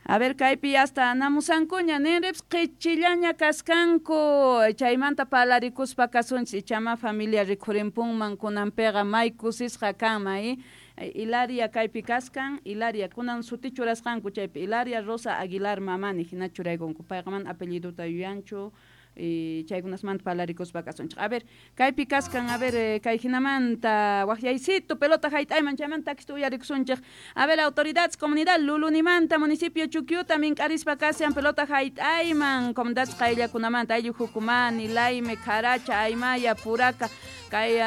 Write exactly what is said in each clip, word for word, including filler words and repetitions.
A ver, kaypi hasta namusankuña ninrips qichillaña kaskanku chaymanta palarikuspa kasunchis ichama familia rikhurimpunman kunanpiqa may kusisqa kanman Hilaria kaypi kaskan Hilaria kunan suti churasqanku chaypi Hilaria Rosa Aguilar Mamani hina churaykunku payqa mana apelliduta yuyanchu y chaykunasmanta palarikuspa kasunchik. A ver, kaypi kaskan, a ver, kay hinamanta waqyaycito pelota hayt'ayman chaymanta takista uyarikusunchik. A ver, autoridades, comunidad Lulunimanta, municipio Chuquiuta, mink'arispa kashan pelota hayt'ayman, comunidades qayllakunamanta, ayllu Jucumani, Laime, Caracha, Aymaya, Puraca, kay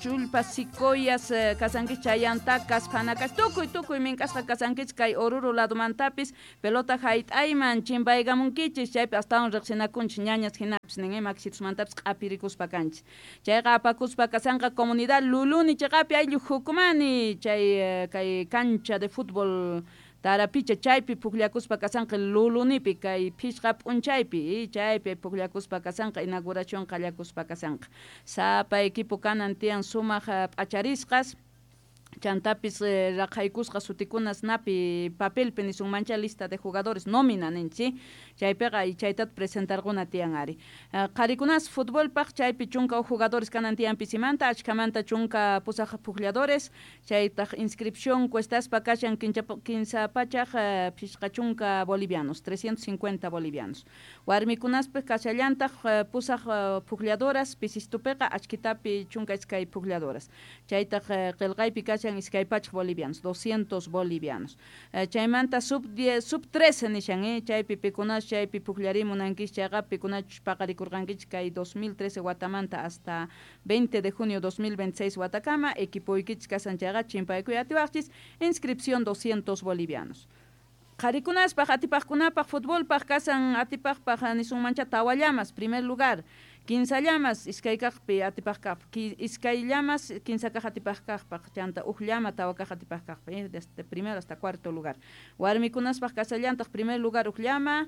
Chullpa, Sicoyas, kasankichik Chayantakas, Panakas, tukuy tukuy mink'asqa kasankichik kay Oruro ladumantapis pelota hayt'ayman chimpaykamunkichik chaypi astawan riqsinakunchik ñañas hinapis nin maksitusmantapis q'apirikuspa kanchik. Chayqa apakuspa kasanqa comunidad Luluni chiqapi ayllu Jucumani chay kay cancha de fútbol Tarapicha chaypi pukllakuspa kasanqa Lulunipi kay phishqa p'unchaypi chaypi pukllakuspa kasanqa inauguración qallakuspa kasanqa. Sapa equipo kanan tiyan sumaq p'acharisqas chantapis raqhaykusqa sutikunas napi papelpi nisunmancha lista de jugadores nómina ninchik chaypiqa chaytata presentarquna tiyan ari. Qharikunas futbolpaq chaypi chunka huk jugadores kanan tiyan pisimanta achkamanta chunka pusaq puklladores chaytaq inscripción cuestaspa kashan kinsa pachaq phishqa chunka bolivianos trescientos cincuenta bolivianos. Warmikunaspis kashallantaq pusaq puklladoras pisistupiqa achkitapi chunka iskay puklladoras chaytaq qillqaypi kashan iskay pachaq bolivianos, doscientos bolivianos. Chaymanta sub diez, sub trece nishan, eh, chaypi pikunas chaypi pukllarimunankichik chayqa pikunachus paqarikurqankichik kay dos mil trece watamanta hasta veinte de junio dos mil veintiséis watakama equipoykichik kasan chayqa chimpaykuy atiwaqchis inscripción doscientos bolivianos. Qharikunaspaq atipaqkunapaq futbolpaq kasan atipaqpaq nisunmancha tawa llamas primer lugar kinsa llamas iskay kaqpi atipaq kaqpaq iskay llamas kinsa kaq atipaq kaqpaq chanta huk llama tawa kaq atipaq kaqpaq eh, desde primero hasta cuarto lugar. Warmikunaspaq kasallantaq primer lugar huk llama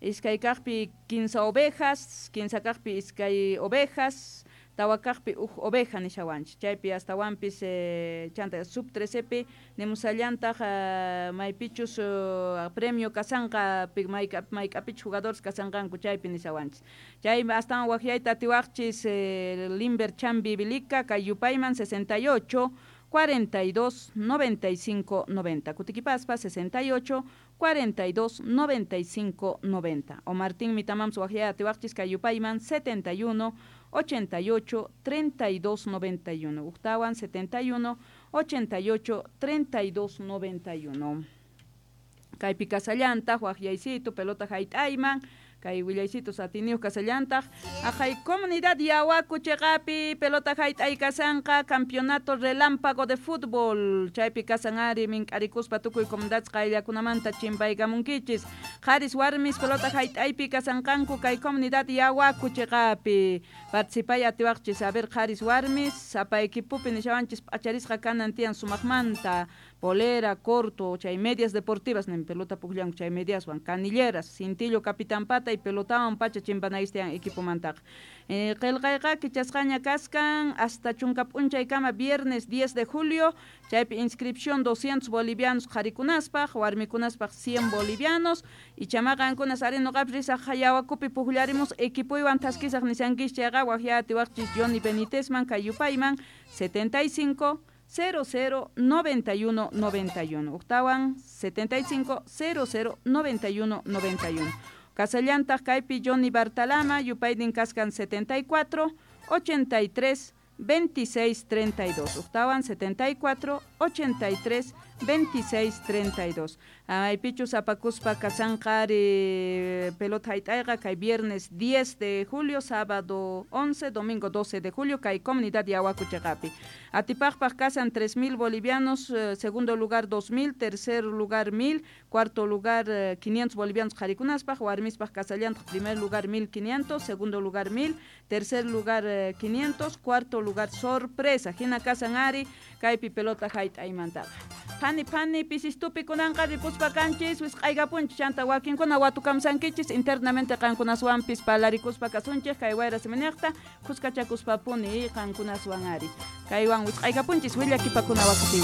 iskay kaqpi kinsa ovejas kinsa kaqpi iskay ovejas tawa kaqpi huk oveja nishawanchik chaypi astawanpis eh, chanta sub trecepi nimusallantaq uh, maypichus uh, premio kasanqa mayk'apichus jugadores kasanqanku chaypi nishawanchik chay astawan waqyayta atiwaqchis eh, Limber Chambi Bilica kay yupayman sesenta y ocho cuarenta y dos noventa y cinco noventa Kutikipaspa sesenta y ocho cuarenta y dos noventa y cinco noventa o Martín Mitamams waqyay atiwaqchis kay yupayman setenta y uno ochenta y ocho treinta y dos noventa y uno Uktawan setenta y uno ochenta y ocho treinta y dos noventa y uno. Kaypi kasallantaq waqyaysitu pelota hayt'ayman kay willaysitu satiniyuq kasallantaq aqhay comunidad Yawaku chiqapi pelota hayt'ay kasanqa campeonato relámpago de fútbol chaypi kasan ari mink'arikuspa tukuy comunidades qayllakunamanta chimpaykamunkichis qharis warmis pelota hayt'aypi kasanqanku kay comunidad Yawaku chiqapi participay atiwaqchis a ver qharis warmis sapa equipopi nishawanchis p'acharisqa kanan tiyan sumaqmanta polera, corto, chay medias deportivas nin pelota pukllanku chay mediaswan canilleras, cintillo capitán pata y pelotawan pacha chimpanaystian equipomantaqa. Eh, qillqayqa kichasqaña kaskan hasta chunka p'unchaykama viernes diez de julio chaypi inscripción doscientos bolivianos qharikunaspaq warmikunaspaq cien bolivianos y chamaqankunas ari nuqapis risaq Yawakupi pukllarimus equipoywan thaskisaq nishankis chayqa waqya atiwaqchis Johnny Benítezman kay yupayman setenta y cinco cero cero noventa y uno noventa y uno. Uktawan setenta y cinco cero cero noventa y uno noventa y uno. Kasallantaq kaypi Johnny Bartalama yupaydin kaskan setenta y cuatro ochenta y tres veintiséis treinta y dos. Uktawan setenta y cuatro ochenta y tres veintiséis treinta y dos. Aypichus apakuspa kasanqari pelota hayt'ayqa kay viernes diez de julio, sábado once, domingo doce de julio kay comunidad Yawaku chiqapi. Atipaqpaq kasan tres mil bolivianos, eh, segundo lugar dos mil, tercer lugar mil, cuarto lugar eh, quinientos bolivianos qharikunaspaq, warmispaq kasallantaq primer lugar mil quinientos, segundo lugar mil, tercer lugar eh, quinientos, cuarto lugar sorpresa. Hina kasan ari kaypi pelota hayt'aymantaqa. Phani phani pisistupi kunanqa ripuspa kanchis wisq'aykapunchis chanta wakinkuna watukamsankichis internamente qankunaswanpis palarikuspa kasunchik kay wayra siminiqta kuskachakuspapuni qankunaswan ari kaywan wisq'aykapunchis willakipakuna wakupi.